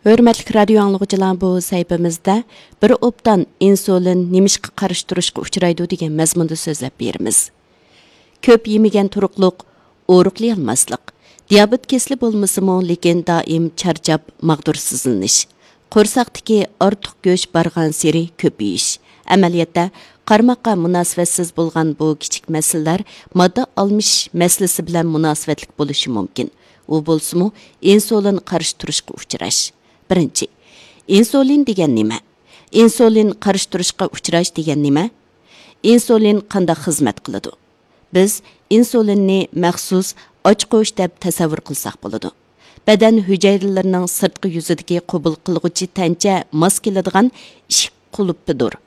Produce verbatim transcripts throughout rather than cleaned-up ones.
ھۆرمەتلىك رادىيو ئاڭلىغۇچىلار، بۇ سەھىپىمىزدە بىر ئوبدان ئىنسۇلىن نېمىشقا قارشى تۇرۇشقا ئۇچرايدۇ دېگەن مەزمۇندا سۆزلەپ بېرىمىز. كۆپ يېمىگەن تۇرۇقلۇق، ئورۇقلىيالماسلىق، دىيابېت كېسىلى بولمىسىمۇ، لېكىن دائىم چارچاپ، ماغدۇرسىزلىنىش، قورساقتىكى ئارتۇق گۆش بارغانسېرى كۆپىيىش. ئەمەلىيەتتە، قارىماققا مۇناسىۋەتسىز بولغان بۇ كىچىك مەسىلىلەر ماددا ئالمىشىش مەسىلىسى بىلەن مۇناسىۋەتلىك بولۇشى مۇمكىن. ئۇ بولسىمۇ ئىنسۇلىن قارشى تۇرۇشقا ئۇچراش. بىرىنچى، ئىنسۇلىن دېگەن نېمە؟ ئىنسۇلىن قارشى تۇرۇشقا ئۇچراش دېگەن نېمە؟ ئىنسۇلىن قانداق خىزمەت قىلىدۇ؟ بىز ئىنسۇلىننى مەخسۇس ئاچقۇچ دەپ تەسەۋۋۇر قىلساق بولىدۇ. بەدەن ھۈجەيرىلىرىنىڭ سىرتقى يۈزىدىكى قوبۇل قىلغۇچى تەنچە ماس كېلىدىغان ئىشىك قۇلۇپىدۇر.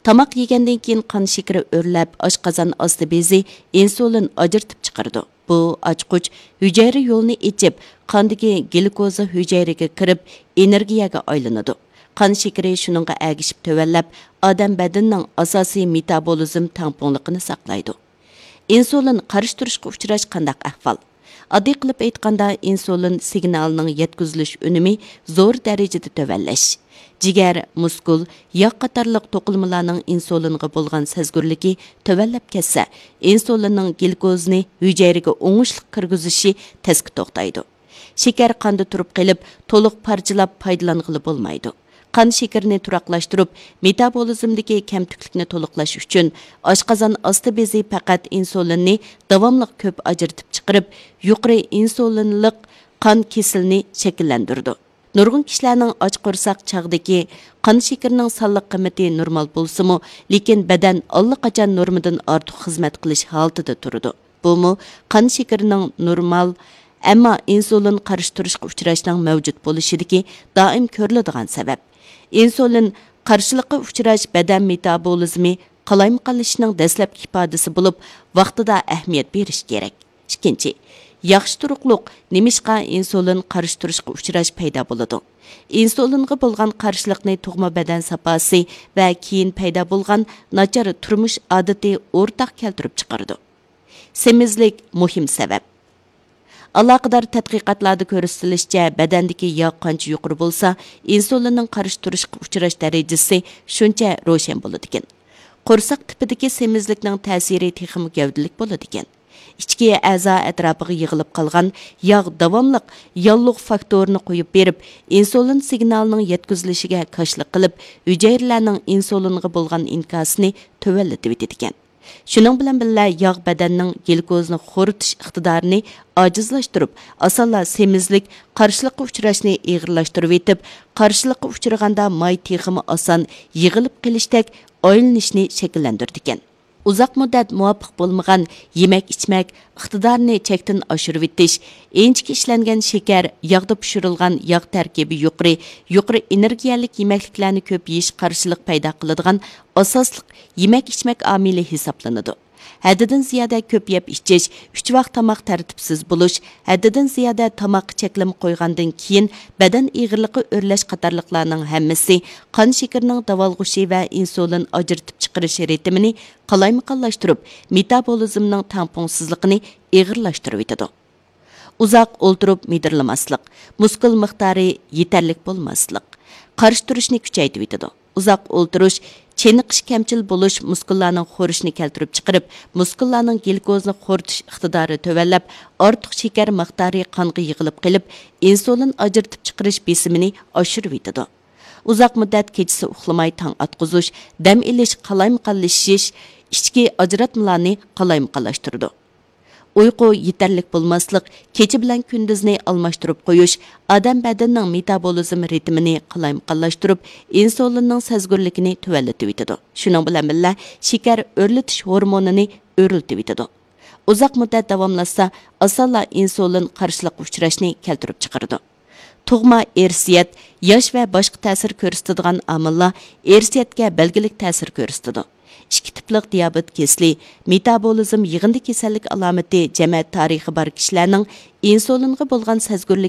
تاماق يېگەندىن كېيىن قان شېكىرى ئۆرلەپ، ئاشقازان ئاستى بېزى ئىنسۇلىن ئاجرىتىپ چىقىرىدۇ. بۇ ئاچقۇچ ھۈجەيرە يولىنى ئېچىپ، قاندىكى گلۇكوزا ھۈجەيرىگە كىرىپ، ئېنېرگىيەگە ئايلىنىدۇ. قان شېكىرى شۇنىڭغا ئەگىشىپ تۆۋەنلەپ، ئادەم بەدىنىنىڭ ئاساسىي مېتابولىزم تەڭپۇڭلۇقىنى ساقلايدۇ. ئىنسۇلىن قارشى تۇرۇشقا ئۇچراش قانداق ئەھۋال؟ ئاددىي قىلىپ ئېيتقاندا، ئىنسۇلىن سىگنالىنىڭ يەتكۈزۈلۈش ئۈنۈمى زور دەرىجىدە تۆۋەنلەش. جىگەر، مۇسكۇل، ياغ قاتارلىق توقۇلمىلارنىڭ ئىنسۇلىنغا بولغان سەزگۈرلۈكى تۆۋەنلەپ كەتسە، ئىنسۇلىننىڭ گلۇكوزىنى ھۈجەيرىگە ئوڭۇشلۇق كىرگۈزۈشى تەسكە توختايدۇ. شېكەر قاندا تۇرۇپ قېلىپ، تولۇق پارچىلاپ پايدىلانغىلى بولمايدۇ. قان شېكىرىنى تۇراقلاشتۇرۇپ، مېتابولىزمدىكى كەمتۈكلۈكنى تولۇقلاش ئۈچۈن، ئاشقازان ئاستى بېزى پەقەت ئىنسۇلىننى داۋاملىق كۆپ ئاجرىتىپ چىقىرىپ، يۇقىرى ئىنسۇلىنلىق قان كېسىلىنى شەكىللەندۈرىدۇ. نۇرغۇن كىشىلەرنىڭ ئاچ قورساق چاغدىكى قان شېكىرىنىڭ سانلىق قىممىتى نورمال بولسىمۇ، لېكىن بەدەن ئاللىقاچان نورمىدىن ئارتۇق خىزمەت قىلىش ھالىتىدە تۇرىدۇ. بۇمۇ قان شېكىرىنىڭ نورمال، ئەمما ئىنسۇلىن قارشى تۇرۇشقا ئۇچراشنىڭ مەۋجۇت بولۇشىدىكى دائىم كۆرۈلىدىغان سەۋەب. ئىنسۇلىن قارشىلىققا ئۇچراش بەدەن مېتابولىزمى قالايمىقانلىشىشنىڭ دەسلەپكى ئىپادىسى بولۇپ، ۋاقتىدا ئەھمىيەت بېرىش كېرەك. ئىككىنچى، ياخشى تۇرۇقلۇق نېمىشقا ئىنسۇلىن قارشى تۇرۇشقا ئۇچراش پەيدا بولىدۇ؟ ئىنسۇلىنغا بولغان قارشىلىقنى تۇغما بەدەن ساپاسى ۋە كېيىن پەيدا بولغان ناچار تۇرمۇش ئادىتى ئورتاق كەلتۈرۈپ چىقىرىدۇ. سېمىزلىك مۇھىم سەۋەب. ئالاقىدار تەتقىقاتلاردا كۆرسىتىلىشىچە، بەدەندىكى ياغ قانچە يۇقىرى بولسا، ئىنسۇلىننىڭ قارشى تۇرۇشقا ئۇچراش دەرىجىسى شۇنچە روشەن بولىدىكەن. قورساق تىپىدىكى سېمىزلىكنىڭ تەسىرى تېخىمۇ گەۋدىلىك بولىدىكەن. ئىچكى ئەزا ئەتراپىغا يىغىلىپ قالغان ياغ داۋاملىق ياللۇغ فاكتورىنى قويۇپ بېرىپ، ئىنسۇلىن سىگنالىنىڭ يەتكۈزۈلۈشىگە كاشىلىق قىلىپ، ھۈجەيرىلەرنىڭ ئىنسۇلىنغا بولغان ئىنكاسىنى تۆۋەنلىتىۋېتىدىكەن. شۇنىڭ بىلەن بىللە، ياغ بەدەننىڭ گلۇكوزىنى خورىتىش ئىقتىدارىنى ئاجىزلاشتۇرۇپ، ئاسانلا سېمىزلىك، قارشىلىققا ئۇچراشنى ئېغىرلاشتۇرۇۋېتىپ، قارشىلىققا ئۇچرىغاندا ماي تېخىمۇ ئاسان يىغىلىپ قېلىشتەك ئايلىنىشنى شەكىللەندۈرىدىكەن. ئۇزاق مۇددەت مۇۋاپىق بولمىغان يېمەك-ئىچمەك ئىقتىدارىنى چەكتىن ئاشۇرۇۋېتىش، ئىنچىكە ئىشلەنگەن شېكەر، ياغدا پىشۇرۇلغان ياغ تەركىبى يۇقىرى، يۇقىرى ئېنېرگىيەلىك يېمەكلىكلەرنى كۆپ يېيىش قارشىلىق پەيدا قىلىدىغان ئاساسلىق يېمەك-ئىچمەك ئامىلى ھېسابلىنىدۇ. ھەددىدىن زىيادە كۆپ يەپ ئىچىش، ئۈچ ۋاق تاماق تەرتىپسىز بولۇش، ھەددىدىن زىيادە تاماققا چەكلىمە قويغاندىن كېيىن بەدەن ئېغىرلىقى ئۆرلەش قاتارلىقلارنىڭ ھەممىسى قان شېكىرىنىڭ داۋالغۇشى ۋە ئىنسۇلىن ئاجرىتىپ چىقىرىش رىتىمىنى قالايمىقانلاشتۇرۇپ، مېتابولىزمنىڭ تەڭپۇڭسىزلىقىنى ئېغىرلاشتۇرۇۋېتىدۇ. ئۇزاق ئولتۇرۇپ مىدىرلىماسلىق، مۇسكۇل مىقدارى يېتەرلىك بولماسلىق، قارشى تۇرۇشنى كۈچەيتىۋېتىدۇ. ئۇزاق ئولتۇرۇش، چېنىقىش كەمچىل بولۇش مۇسكۇللارنىڭ خورىشىنى كەلتۈرۈپ چىقىرىپ، مۇسكۇللارنىڭ گلۇكوزىنى خورىتىش ئىقتىدارى تۆۋەنلەپ، ئارتۇق شېكەر مىقدارى قانغا يىغىلىپ قېلىپ، ئىنسۇلىن ئاجرىتىپ چىقىرىش بېسىمىنى ئاشۇرۇۋېتىدۇ. ئۇزاق مۇددەت كېچىسى ئۇخلىماي تاڭ ئاتقۇزۇش، دەم ئېلىش قالايمىقانلىشىش، ئىچكى ئاجراتمىلارنى قالايمىقانلاشتۇرىدۇ. ئۇيقۇ يېتەرلىك بولماسلىق، كېچە بىلەن كۈندۈزنى ئالماشتۇرۇپ قويۇش ئادەم بەدىنىنىڭ مېتابولىزم رىتىمىنى قالايمىقانلاشتۇرۇپ، ئىنسۇلىننىڭ سەزگۈرلۈكىنى تۆۋەنلىتىۋېتىدۇ. شۇنىڭ بىلەن بىللە، شېكەر ئۆرلىتىش ھورمونىنى ئۆرلىتىۋېتىدۇ. ئۇزاق مۇددەت داۋاملاشسا، ئاسانلا ئىنسۇلىن قارشىلىققا ئۇچراشنى كەلتۈرۈپ چىقىرىدۇ. تۇغما ئىرسىيەت، ياش ۋە باشقا تەسىر كۆرسىتىدىغان ئامىللار ئىرسىيەتكە بەلگىلىك تەسىر كۆرسىتىدۇ. ئىككى تىپلىق دىيابېت كېسىلى، مېتابولىزم يىغىندى كېسەللىك ئالامىتى جەمەت تارىخى بار كىشىلەرنىڭ ئىنسۇلىنغا بولغان سەزگۈرلۈكى